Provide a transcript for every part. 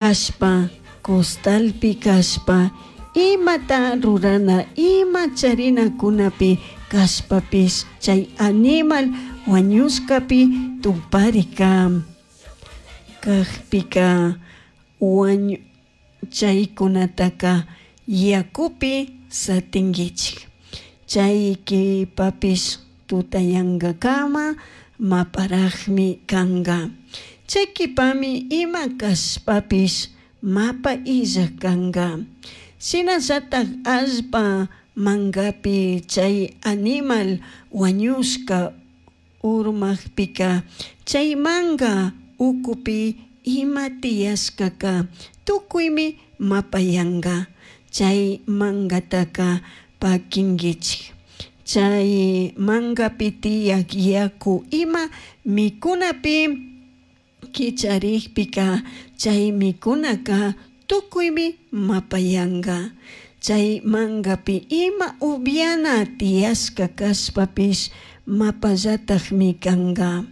Cashpa, costalpi cashpa, imata rurana, ima charinacunapi cashpapish chai animal huañushcapi tuparica cajpica huañu chaicunataca yacupi satinguichij. Chai q'uipapish tutayangacama maparajmi canga. Chai q'uipami ima cashpapish mapa illaj canga. Shinallataj allpa mangapi chai animal huañushca urmajpica chai manga ucupi ima tiyashcaca tucuimi mapayanga. Chai mangataca paquinguichij. Chai mangapi tiyaj yacu ima micunapi quicharijpica chai micunaca tucuimi mapayanga. Chai mangapi ima ubyana tiyashca cashpapish mapallatajmi canga.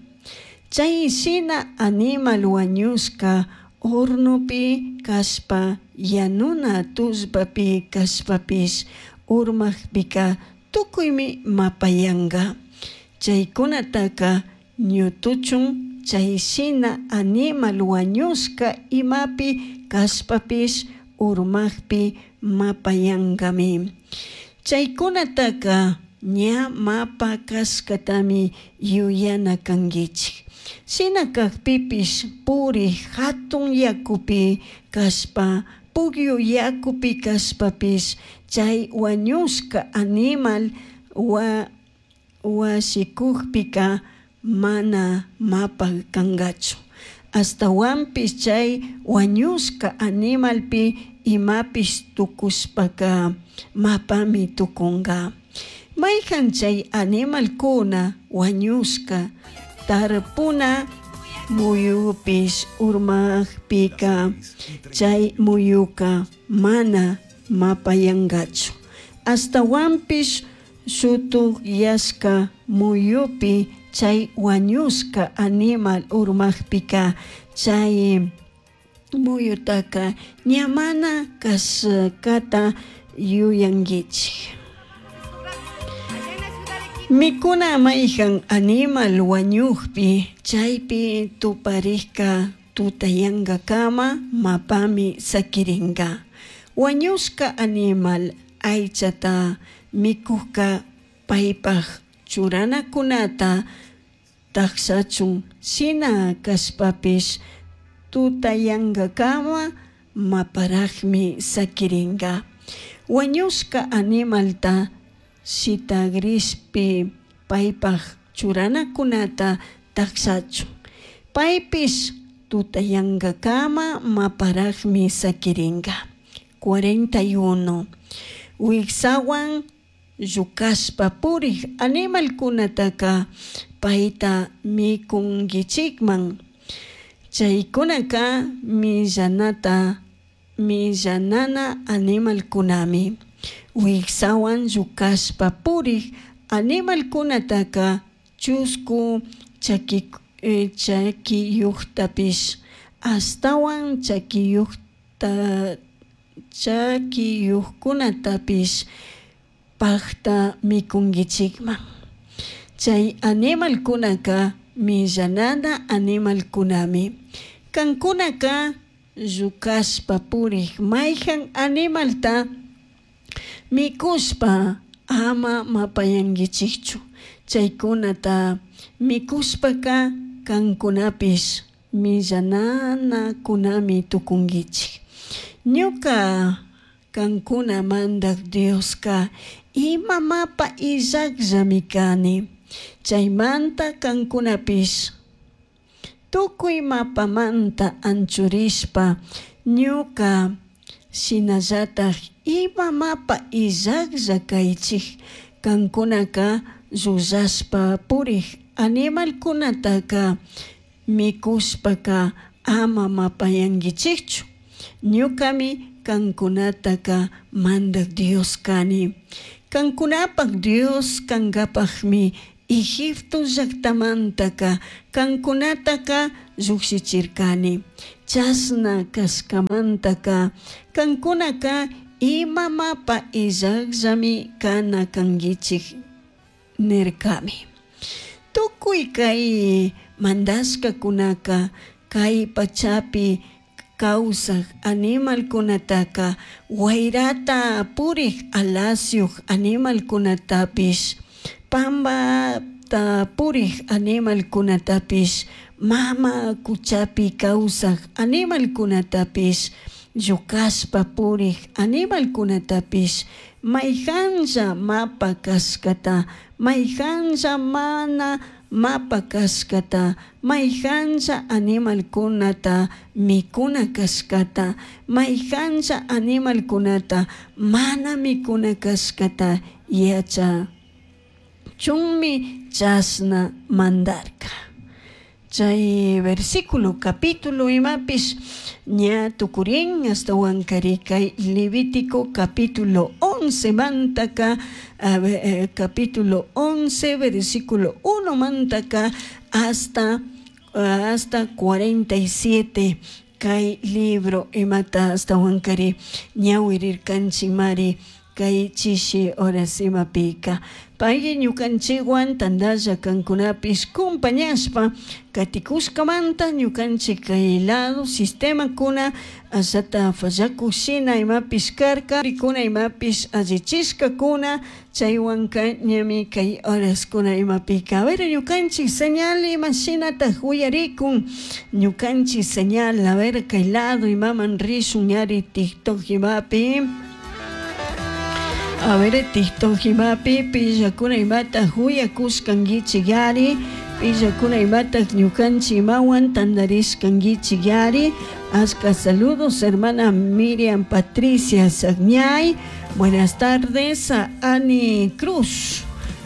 Chai shina animal huañushca hornopi cashpa, yanuna tullpapi cashpapish urmajpica tucuimi mapayanga. Chaicunataca ñutuchun chai shina animal huañushca imapi cashpapish urmajpi mapayangami. Chaicunataca ña mapa cashcatami yuyana canguichij. Shina cajpipish purij jatun yacupi cashpa, pugyu yacupi cashpapish chai huañushca animal huashicujpica mana mapa cangachu. Ashtahuanpish chai huañushca animalpi imapish tucushpaca mapami tucunga. Maijan chai animalcuna huañushca tarpuna muyupish urmajpica chai muyuca mana mapayangachu. Ashtahuanpish shutujyashca muyupi chai huañushca animal urmajpica chai muyutaca ña mana cashcata yuyanguichij. Micuna maijan animal huañujpi chaipi tuparijca tutayangacama mapami saquiringa. Huañushca animal aichata micujca paipaj churanacunata tajshachun shina cashpapish tutayangacama maparajmi saquiringa. Huañushca animalta shitagrishpi paipaj churanacunata tajshachun. Paipish tutayangacama maparajmi saquiringa. 41. Huijsahuan llucashpa purij animalcunataca paita micunguichijman. Chaicunaca millanata millanana animalcunami. Huijsahuan llucashpa purij animalcunataca chuscu chaqui chaquiyujtapish ashtahuan chaquiyujta chaquiyujcunatapish pajta micunguichijman. Chai animalcunaca millanana animalcunami. Cancunaca llucashpa purij maijan animalta micushpa ama mapayanguichijchu. Chaicunata micushpaca cancunapish millananacunami tucunguichij. Ñuca cancuna Mandaj Diosca ima mapa illajllami cani. Chaimanta cancunapish tucui mapamanta anchurishpa ñuca shinallataj ima mapa illajlla caichij. Cancunaca llullashpa purij animalcunataca micushpaca ama mapayanguichijchu. Ñucami cancunataca Mandaj Dios cani. Cancunapaj Dios cangapajmi Egipto llajtamantaca cancunataca llujshichircani. Chashna cashcamantaca cancunaca ima mapa illajllami cana canguichij nircami. Tucui cai mandashcacunaca cai pachapi causaj animalcunataca huairata purij alasyuj animalcunatapish pambata purij animalcunatapish mama cuchapi causaj animalcunatapish llucashpa purij animalcunatapish maijanlla mapa cashcata maijanlla mana mapa cashcata maijanlla animalcunata micuna cashcata maijanlla animalcunata mana micuna cashcata yachachunmi chashna mandarca. Chay versículo capítulo imapish ña tucurin ashtahuankari kay Levítico capítulo 11 mantaka, a ver, capítulo 11 versículo 1 mantaka hasta 47 kay libro imata ashtahuankari ñawirirkanchikmari kay chishi horas imapika. Pay ñukanchikwan tandalla kankunapish compañashpa katikushkamanta ñukanchik kay lado sistemakuna ashata fallakush shina imapish karka rikuna imapish allichishkakuna chaywanka ñami kay horaskuna imapika. A ver, ñukanchik señal ima shinataj uyarikun ñukanchik señal, a ver, kay lado imaman rishun ñari TikTok imapi. A ver, TikTok imapi pillakuna imataj uyakushkankichik yari, pillakuna imataj ñukanchik imawan tandarishkankichik yari. Ashka saludos, hermana Miriam Patricia Sagñay. Buenas tardes a Ani Cruz.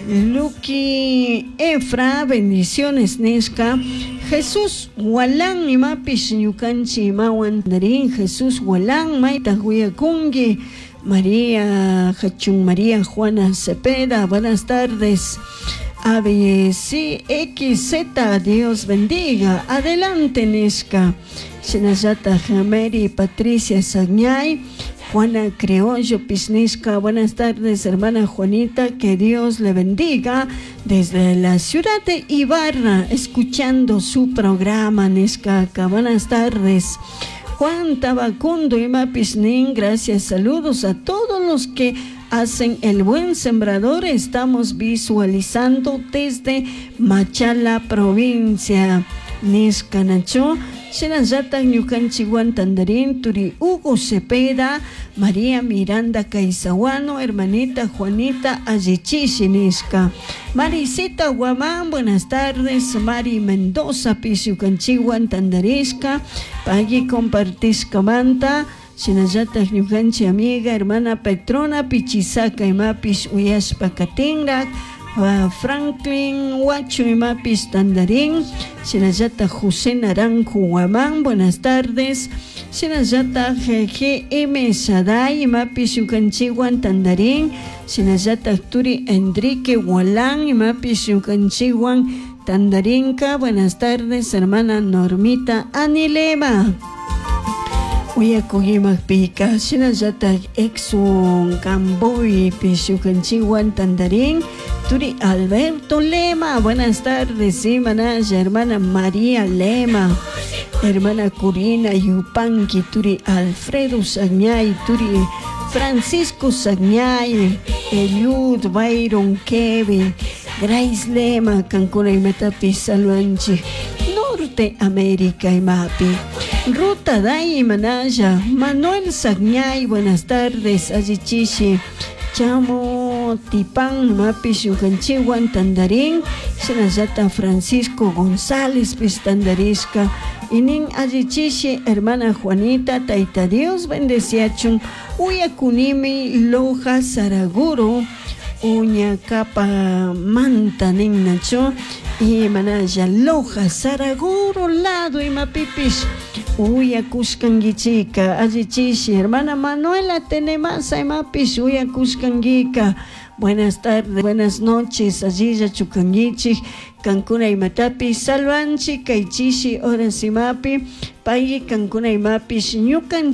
Lucky Efra, bendiciones nishka. Jesús Walán imapish ñukanchik imawan tandarin. Jesús Walán maytaj uyakunki. María Hachun María Juana Cepeda, buenas tardes. A B C X Z, Dios bendiga. Adelante, nishka. Shinallata Mary Patricia Sagñay, Juana Criollo Pisnishka, buenas tardes, hermana Juanita, que Dios le bendiga desde la ciudad de Ibarra, escuchando su programa, nishka. Buenas tardes. Juan Tabacundo y Mapisnin, gracias, saludos a todos los que hacen el buen sembrador. Estamos visualizando desde Machala, provincia. Nishkanacho, Shinallata ñukanchikwan tandarin, Turi Hugo Cepeda, María Miranda Caizahuano, hermanita Juanita Allichishi nishka. Marisita Guamán, buenas tardes. Mari Mendoza, Pisiukanchikwan tandarishka, pagui compartishka manta. Shinallata ñukanchik amiga, hermana Petrona Pichisaca, imapish uyashpa katinrak. Franklin Huacho imapis tandarín, Shinallata José Naranjo Guamán, buenas tardes. Shinallata GM Shaddai imapis ñukanchikwan tandarín, Shinallata Turi Enrique Gualán imapis ñukanchikwan tandarinka, buenas tardes, hermana Normita Anilema. Uyakuymapika shinallata Exxon Camboy ñukanchikwan tandarín, Turi Alberto Lema, buenas tardes, manaya, hermana María Lema, hermana Corina Yupanqui, Turi Alfredo Sagñay, Turi Francisco Sagñay, Eliud, Byron, Kevin, Grace Lema, Cancuna imatapi saluanchi, Norte América imapi. Ruta Day Manaya, Manuel Sagñay, buenas tardes, allichishi, Chamo Tipán, mapish ñukanchikwan tandarín, shinallata Francisco González pistandarishka, inin allichishi, hermana Juanita, Taita Dios bendeciachun, uyakunimi Loja Saraguro, Uñacapa manta ninnacho, y manaya Loja Saraguro lado imapipish uyakushkankichika, allichishi, hermana Manuela Tenemasa imapish uyakushkankika. Buenas tardes, buenas noches, allilla chukankichik, Kankuna imatapish salvanchik kay chishi horas imapi pay kankuna imapish ñukanchik.